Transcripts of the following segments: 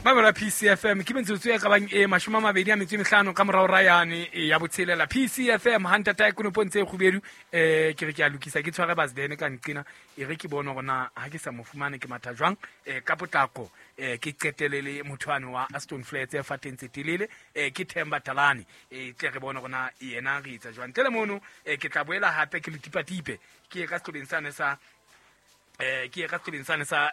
Mamela PCFM ke metsotso e ka bang e 25 ka morao ra yane ya botshelela. PCFM ha ntata e konopong tse kgubedu, ke re ke a lokisa, ke tshware Basden ka nqena, e re ke bone hore na ha ke sa mo fumane ke matha jwang, ka potlako, ke qetele le motho ane wa Aston Flats e fateng tse telele, ke Themba Talane, tle re bone hore na yena re etsa jwang. Ntle le mono, ke tla boela hape ke le tipatipe, ke ye ka sehlobeng sane sa ke ye ka sehlobeng sane sa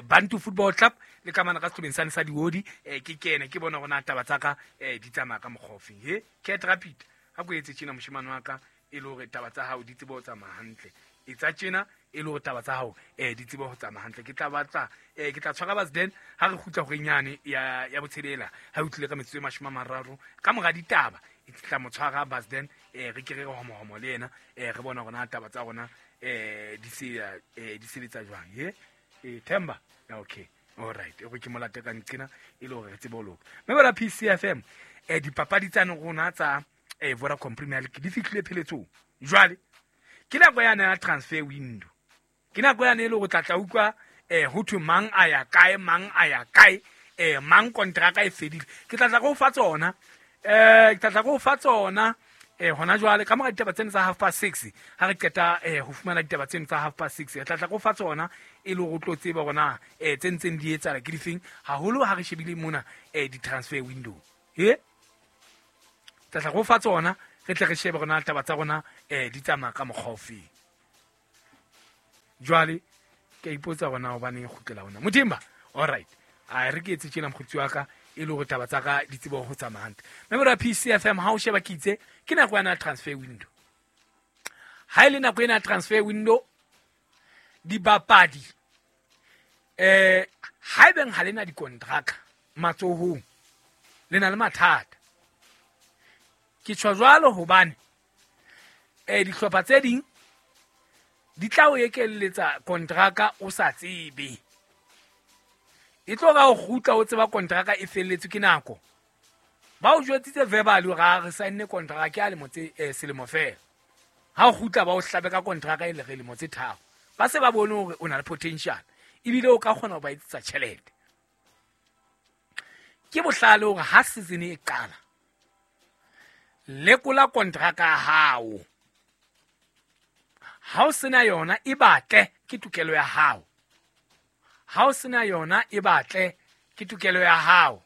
Bantu Football Club le ka mane ka sehlobeng sane sa Diodi, ke kene ke bone hore na taba tsa ka di tsamaya ka mokgwa ofeng. He Cat Rapid, ha ko etse tjena moshemane wa ka, e le hore taba tsa hao di tsebe ho tsamaya hantle. Etsa tjena e le hore taba tsa hao di tsebe ho tsamaya hantle. Ke tla batla, ke tla tshwara Basden ha re kgutla horeng yane ya botshelela, ha e utlwile ka metsotso e 30 ka mora ditaba. Ke tla mo tshwara Basden, re ke re homohomo le yena, re bone hore na taba tsa rona di sebetsa jwang. He Themba, okay, all right, e re ke molate ka nqena e le hore re tsebe ho loka. Mme bona PCFM, dipapadi tsa rona tsa Vodacom Premier League di fihlile pheletsong. Jwale ke nako yane ya transfer window, ke nako yane e le hore tla tla utlwa ho thwe mang a ya kae, mang a ya kae, mang kontraka e fedile. Ke tla tla go fa tsona, ke tla tla go fa tsona hona jwale ka mora ditaba tsena tsa 6:30. Ha re qeta ho fumana ditaba tsena tsa 6:30, re tla tla go fa tsona e le hore o tlo tseba hore na tse ntseng di etsahala ke difeng, haholo ha re shebile mona di-transfer window. He tla tla go fa tsona, re tle re shebe hore na taba tsa rona di tsamaya ka mokgwa ofeng. Jwale ke a ipotsa hore na hobaneng e kgutlela hona Modimba. All right, a re ke etse tjena mokgotsi wa ka, e le hore taba tsa ka di tsebe ho tsamaya hantle. Mme bona PCFM, ha o sheba ke itse ke nako yana transfer window. Ha e le nako ena transfer window, dibapadi ha ebeng ha lena dikontraka matsohong, le na le mathata. Ke tjho jwalo hobane dihlopha tse ding di tla o ekelletsa kontraka o sa tsebe. E tlo ra o kgutla o tseba kontraka e felletswe ke nako. Ba o jwetsitse verbally hore ha re saenne kontraka ke a lemo tse selemo fela. Ha o kgutla ba o hlabe ka kontraka e le re lemo tse 3. Ba se ba bone hore o na le potential ebile o ka kgona ho ba etsetsa tjhelete. Ke bohlale hore ha season e qala, lekola kontraka ya hao. Ha o sena yona e batle, ke tokelo ya hao. Ha o sena yona e batle, ke tokelo ya hao.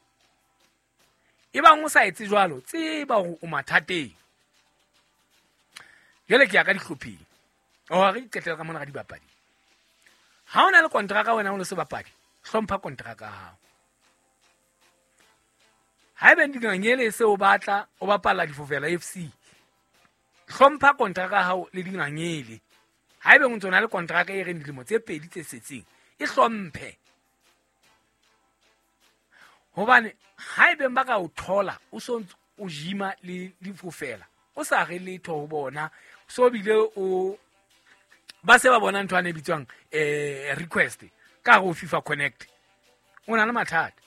Ebang o sa etse jwalo, tseba hore o mathateng. Jwale ke ya ka dihlopheng. O re qetela ka mona ka dibapadi. Ha o na le kontraka wena o le sebapadi, hlompha kontraka ya hao. Haebe dingangele se o batla, o bapalla Difofela FC, hlompha kontraka ya hao le dingangele. Haebe o ntso na le kontraka e reng dilemo tse 2 tse setseng, e hlomphe. Hobane haebe ba ka o thola o so ntse o jima le Difofela, o sa re letho ho bona, so bile o ba se ba bona ntho ane e bitswang request ka ho FIFA Connect, o na le mathata.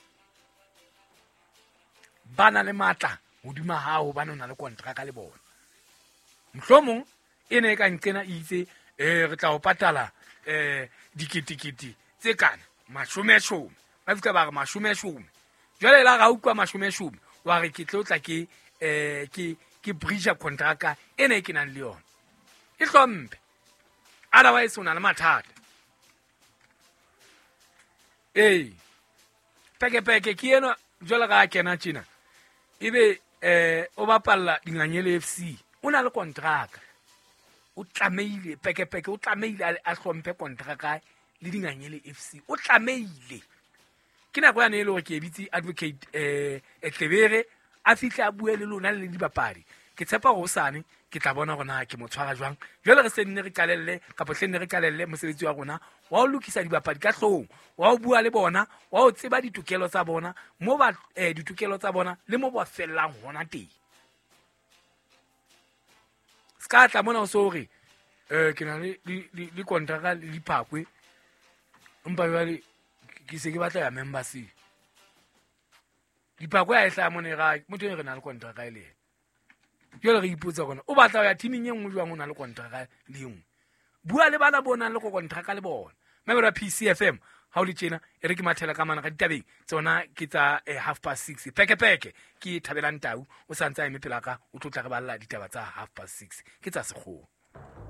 Ba na le matla hodima hao hobane o na le kontraka le bona. Mohlomong e ne e ka nqena e itse, re tla o patala diketekete tse kana mashomeshome, ba fihla ba re mashomeshome. Jwale la ra utlwa mashomeshome, wa re ke tlo tla ke ke breacha kontraka ena e ke nang le yona. E hlomphe, otherwise o na le mathata. Ee, pekepeke ke ena jwale ka kena tjena, ebe o bapalla Dingangele FC, o na le kontraka, o tlamehile pekepeke, o tlamehile a hlomphe kontraka le Dingangele FC, o tlamehile. Ke nako yane e le hore ke bitse advocate Tlebere a fihle a bue le lona le dibapadi. Ke tshepa hore hosane ke tla bona hore na ke mo tshwara jwang. Jwale re se nne re qalelle kapa hle nne re qalelle mosebetsi wa rona wa ho lokisa dibapadi ka hloohong, wa ho bua le bona, wa ho tseba ditokelo tsa bona, mo ba ditokelo tsa bona le mo ba fellang hona teng. Ska tla mona o so hore ke na le kontraka le diphakwe, empa jwale ke se ke batla ya membership. Diphakwe ha e hlaha mona e ra motho e re na le kontraka e le yena. Jwale re ipotsa hore o batla ho ya teaming e nngwe jwang o na le kontraka le e nngwe. Bua le bana bo nang le kontraka le bona. Mamelo ya PCFM ha o le tjena, e re ke mathela ka mana ga ditabeng tsona ke tsa 6:30. Pekepeke ke Thabelang Tau, o sa ntse a eme pela ka, o tlo tla re balla ditaba tsa 6:30 ke tsa sekgowa.